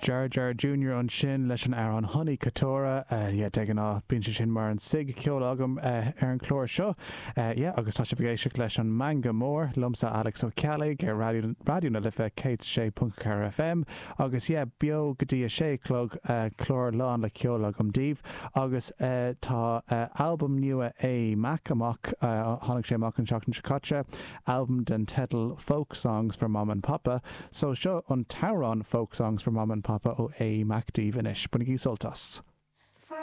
Jar Jar Junior ansin leis an amhrán Honey Katora. Yeah, de ghnáth bíonn sé sin mar an sig ceoil agam ar an chlár seo. Yeah, agus tá sibh ag éisteacht leis an Meangadh Mór, liomsa Alex Ó Ceallaigh ar Raidió Raidió na Life 106.4 FM agus yeah, beo go dtí a sé a chlog, clár lán le ceol agam daoibh agus tá albam nua Aodh Mac amach, tháinig sé amach an tseachtain seo caite. albam den teideal Folk Songs for Mama and Papa, so seo an t-amhrán Folk Songs for Mama and Papa ó Aodh Mac daoibh anois. Bainigí sult as.